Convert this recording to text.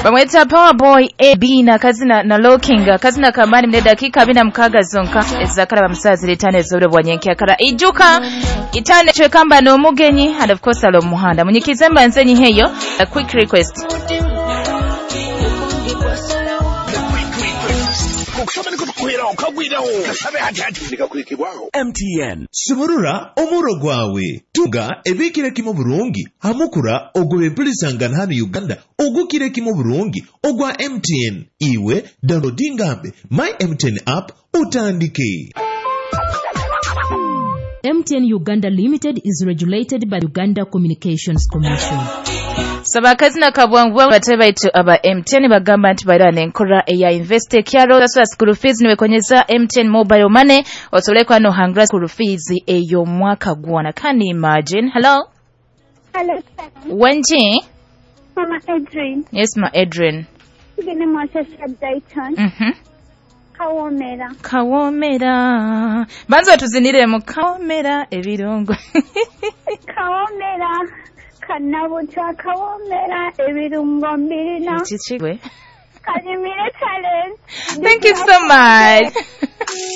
Bamweta Powerboy AB na kazina na Locking kazina kambani mne dakika 46 zonka ezakaraba musazi letane ezobure bwa nyenkyakara ijuka itane chwekamba n'omugenyi and of course alo muhanda munyikize mbanze nyiheyo a quick request. MTN sumurura omuro gwawe tunga ebikire kimu burungi hamukura ogw'empurizangana hano Uganda ogukire kimu burungi ogwa MTN. Iwe downloadingambe my MTN app utandike. MTN Uganda Limited is regulated by Uganda Communications Commission. Saba akazina kabwangu bate baitu aba MTN bagamba nti baira nenkora eya invest kyaro sasa school fees niwekonyeza MTN mobile money osobole kwa no hangra school fees eyo mwaka gwana. Can you imagine? Hello. Hello. Wenji. Mama Adrian. Yes, ma Adrian. Gine mwashasha Dayton. Kawomera. Kawomera. Banza tuzinire mu kawomera ebirungo. Kawomera. Kanabuta kawomera ebirungo mbirina. Chichigwe. Kanyumire challenge. Thank you so much.